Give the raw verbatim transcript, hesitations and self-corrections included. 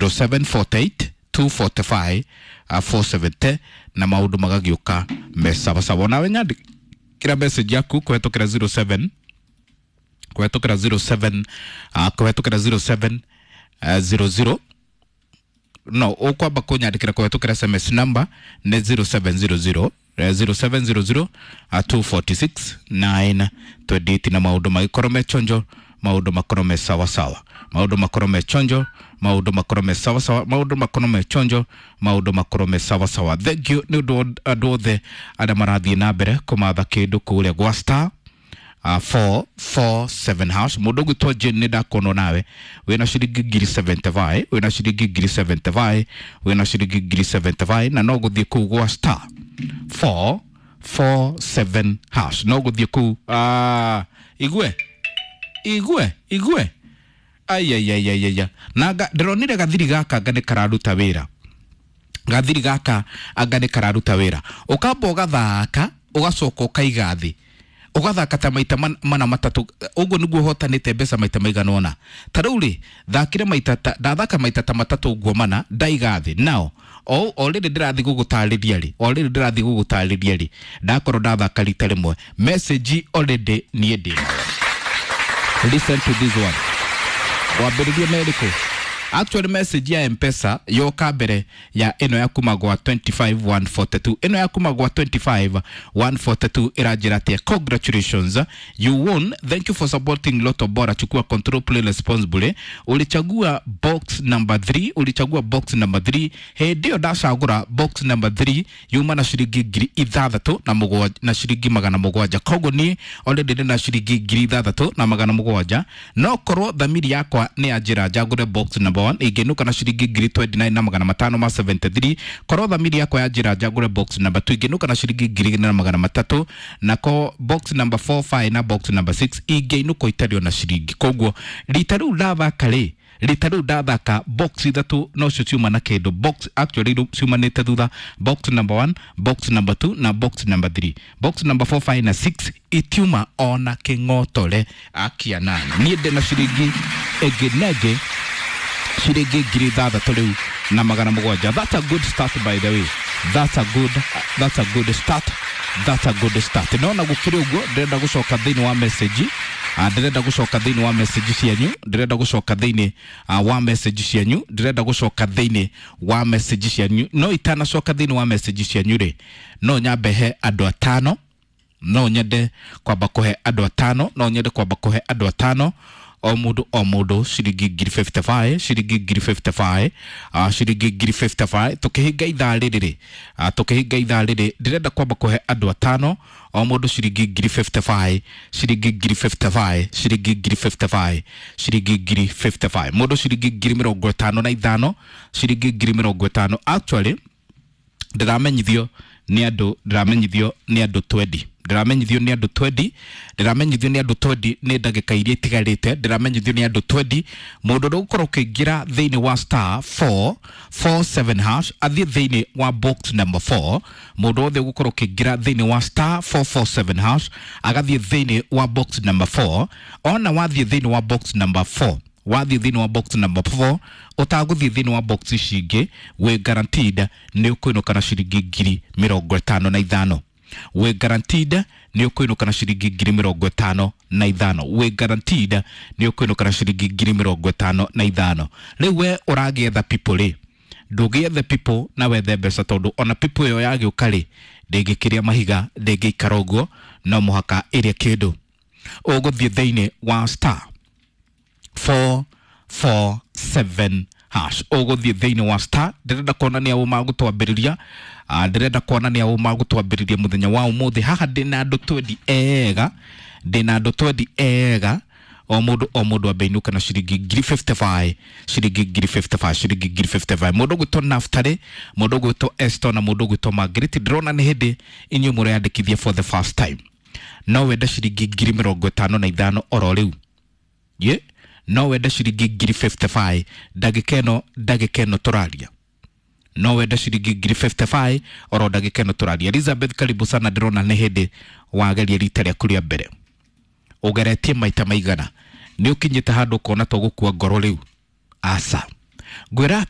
zero seven four eight two four five uh, four seven zero na maundu magagiuka me sawasawa. Nawe nyandikira message yaku kuhetũkĩra zero seven kuhetũkĩra zero seven uh, kuhetũkĩra zero seven uh, zero zero. No ukwamba kunyandikira kuhetũkĩra S M S number nĩ zero seven zero zero eh, zero seven zero zero uh, two four six nine two eight na maundu magikorwo me chonjo, maundu makorwo me sawasawa, maundu makorwo me chonjo, maundu makorwo me sawasawa, maundu makorwo me chonjo, maundu makorwo me sawasawa. Thank you nĩ ũndũ wa andũ othe arĩa marathiĩ na mbere kũmatha kĩndũ kũrĩa gwa star uh, four four seven hash. Mundu gwitwo Jane, nĩ ndakuona nawe wĩna ciringi ngiri seventy-five, wĩna ciringi ngiri seventy-five, wĩna ciringi ngiri seventy-five, na no gũthiĩ kũu gwa star four four seven hash, no gũthiĩ kũu. uh, igue igue igue, aiaiaiaia, na nga- ndĩronire gathiri gaka anga nĩ kararuta wĩra. Gathiri gaka anga nĩ kararuta wĩra. Ũkamba ũgathaka, ũgacoka ũkaiga thĩ, ũgathaka ta maita man- mana matatũ ũguo nĩguo ũhotanĩte mbeca maita maigana ũna. Ta rĩu rĩ, thakire maita ta, ndathaka maita ta matatũ ũguo mana, ndaiga thĩ nao o o rĩrĩ ndĩrathiĩ gũgũtarĩria rĩ, o rĩrĩ ndĩrathiĩ gũgũtarĩria rĩ, ndakorwo ndathaka rita rĩmwe, message already niĩ ndĩ nayo. Listen to this one. Wambĩrĩrie na ĩrĩkũ? Actually, message ya M-Pesa yoka mbere ya ĩno ya kuma gwa twenty-five one forty-two. Ĩno ya kuma gwa twenty-five one forty-two ĩranjĩra atĩa? "Congratulations, you won. Thank you for supporting Lotto Bora. Chukua control, play responsibly. Ulichagua box number three, ulichagua box number three." Hĩndĩ ĩyo ndacagũra box number three yuma na ciringi ngiri ithathatũ na mũgwanja na ciringi magana mũgwanja. Koguo niĩ already ndĩ na ciringi ngiri ithathatũ na magana mũgwanja. No korwo thamiri yakwa nĩ yanjĩra njagũre box number one, ingĩinũka na ciringi ngiri twenty-nine na magana matano ma seventy-three. Korwo thamiri yakwa yanjĩra njagũre box number two, ingĩinũka na ciringi ngiri igĩrĩ na magana matatũ. Nako box number four, five na box number six ingĩinũka itarĩ ona ciringi. Koguo rita rĩu ndathaka rĩ, rita rĩu ndathaka box ithatũ nocio ciuma na kĩndũ. Box actually rĩu ciumanĩte thutha, box number one, box number two na box number three. Box number four, five na six itiuma ona kĩng'otore. Akia nani, niĩ ndĩ na ciringi ĩngĩ na ĩngĩ, ciringi ngiri ithathatũ rĩu na magana mũgwanja. That's a good start, by the way. That's a good that's a good start, that's a good start. No na gũkĩrĩ ũguo, ndĩrenda gũcoka thĩinĩ wa message. Ah, ndĩrenda gũcoka thĩinĩ wa message cianyu, ndĩrenda gũcoka thĩinĩ uh, wa message cianyu, ndĩrenda gũcoka thĩinĩ wa message cianyu. No itanacoka thĩinĩ wa message cianyu rĩ, no nyambe he andũ atano, no nyende kwamba kũhe andũ atano, no nyende kwamba kũhe andũ atano, o mũndũ o mũndũ ciringi ngiri fifty-five, ciringi ngiri fifty-five, uh, ciringi ngiri fifty-five. Tũkĩhinga ithaa rĩrĩ rĩ, uh, tũkĩhinga ithaa rĩrĩ, ndĩrenda kwamba kũhe andũ atano, o mũndũ ciringi ngiri fifty-five, ciringi ngiri fifty-five, ciringi ngiri fifty-five, ciringi ngiri fifty-five, mũndũ ciringi ngiri mĩrongo ĩtano na ithano, ciringi ngiri mĩrongo ĩtano. Actually, ndĩramenyithio nĩ andũ, ndĩramenyithio nĩ andũ twenty, ndĩramenyithio nĩ andũ twenty, ndĩramenyithio nĩ andũ twenty. Nĩ ndagĩka iria itigarĩte, ndĩramenyithio nĩ andũ twenty. Mũndũ ũrĩa ũgũkorwo ũkĩingĩra thĩinĩ wa star four four seven hash, athiĩ thĩinĩ wa box number four. Mũndũ wothe ũgũkorwo ũkĩingĩra thĩinĩ wa star four four seven hash, agathiĩ thĩinĩ wa box number four. Ona wathiĩ thĩinĩ wa box number four, wathiĩ thĩinĩ wa box number four, ũtagũthiĩ thĩinĩ wa box ici ingĩ, wĩ guaranteed nĩ ũkũinũka na ciringi ngiri mĩrongo ĩtano na ithano. Wĩ guaranteed nĩ ũkũinũka na ciringi ngiri mĩrongo ĩtano na ithano. Wĩ guaranteed nĩ ũkũinũka na ciringi ngiri mĩrongo ĩtano na ithano. Rĩu we ũragĩetha people rĩ, ndũgĩethe people na wethe mbeca, tondũ ona people ĩyo yagĩũka rĩ, ndĩngĩkĩria mahiga, ndĩngĩikara ũguo, no mũhaka ĩrĩe kĩndũ. Ũgũthiĩ thĩinĩ wa star four four seven hash, ũgũthiĩ thĩinĩ wa star. Ndĩrenda kuonania ũ magũtwambĩrĩria. Ah, ndĩrenda kuonania ũ magũtwambĩrĩria mũthenya wa ũmũthĩ. Haha ndĩna andũ twenty ega, ndĩna andũ twenty ega. O mũndũ o mũndũ ambe inũka na ciringi ngiri fifty-five, ciringi ngiri fifty-five, ciringi ngiri fifty-five. Mũndũ ũgwĩtwo Naftali, mũndũ ũgwĩtwo Eston na mũndũ ũgwĩtwo Margaret, ndĩrona nĩ hĩndĩ inyuĩ mũreyandĩkithia for the first time. No wende ciringi ngiri mĩrongo ĩtano na ithano oro rĩu? Ye, no wende ciringi ngiri fifty-five ndagĩka ĩno, ndagĩka ĩno tũraria? No wende ciringi ngiri fifty-five oro ndagĩka ĩno tũraria? Elizabeth, karibu sana. Ndĩrona nĩ hĩndĩ wageria rita rĩaku rĩa mbere. Ũgeretie maita maigana? Nĩ ũkinyĩte handũ ũkona to gũkua ngoro rĩu? Aca. Ngwĩra.